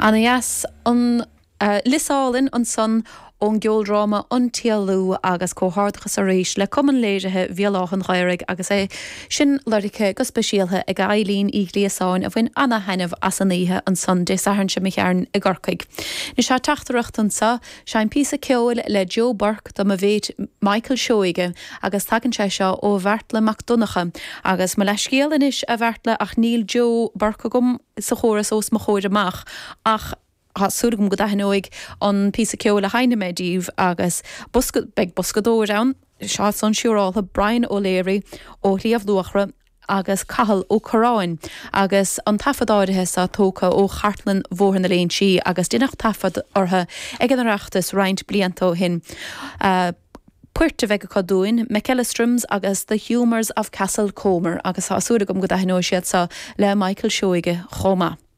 Ana dheas an Lios Álainn ansan ón gceoldráma An tÉalú agus comhghairdeachas arís le Cumann Léirithe Bhéal Átha an Ghaorthaidh agus é sin lorgtha go speisialtha ag Eilín Uí Ghliasáin a bhain ana-thaitneamh as an oíche ansan Dé Sathairn seo imigh tharainn i gCorcaigh. Anois tá teachtaireacht anso, Seinn píosa ceoil le Joe Burke do mo mhéit Michael Seoige agus tagann sé seo ó Bheartla Mac Donncha agus mo leathscéal anois a Bheartla ach níl Joe Burke agam sa chóras os mo chomhair amach ach tá súil agam go dtaitneoidh an píosa ceoil a sheinnfidh mé daoibh agus bosca, beidh boscadóir ann, seo san siúráltha, Brian O'Leary ó Shliabh Luachra agus Cathal Ó Curráin agus an taifead áirithe seo tógtha ó chartlann Bhóthar na Léinsí agus deineadh taifead orthu ag an Oireachtas roinnt blianta ó shin. Poirt a bheidh acu dúinn, McEllistrum's agus The Humours of Castlecomer agus tá súil agam go dtaitneoidh siad seo le Michael Seoige chomh maith.